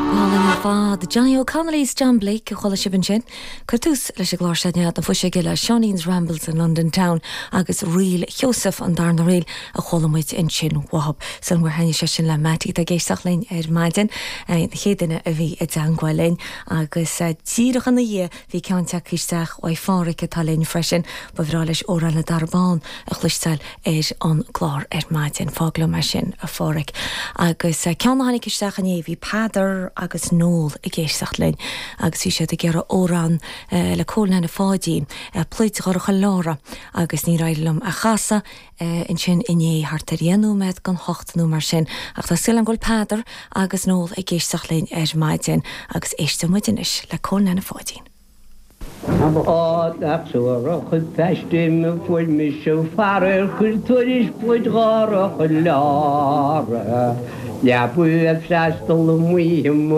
Go hálainn ar fad. Johnny O'Connolly is John Blake a chuala sibh ansin. Cuir tús leis an gclár seo Nead na Fuiseoige le Seáinín's Rambles in London Town agus Ríl Sheosaimh an darna ríl a chuala muid ansin uathub. Sílim gur thaitnigh sé sin le Mattie atá ag éisteacht linn ar maidin, an chéad duine a bhí i dteangmháil linn agus díreach ina dhiaidh bhí ceann tagtha isteach uaidh Phádhraic atá linn freisin. Ba bhreá leis Amhrán na dTarbh Bán a chloisteáil ar an gclár ar maidin. Fág liom é sin, a Phádhraic. Agus ceann a tháinig isteach inné, bhí Peadar agus Noel ag éisteacht linn agus bhí siad ag iarraidh amhrán le Cóil Neaine Pháidín, Pluid Dhorcha Lára, agus níor éirigh liom a chasadh ansin inné thart ar dheich nóiméad don hocht nó mar sin. Ach tá súil agam go bhfuil Peadar agus Noel ag éisteacht linn ar maidin agus éisteoidh muid anois le Cóil Neaine Pháidín. Á, nach suarach an phaiste a fuair mise faraor chuir tuairisc Pluid Dhorcha Lára. Leabaidh ag freastal amuigh i mo.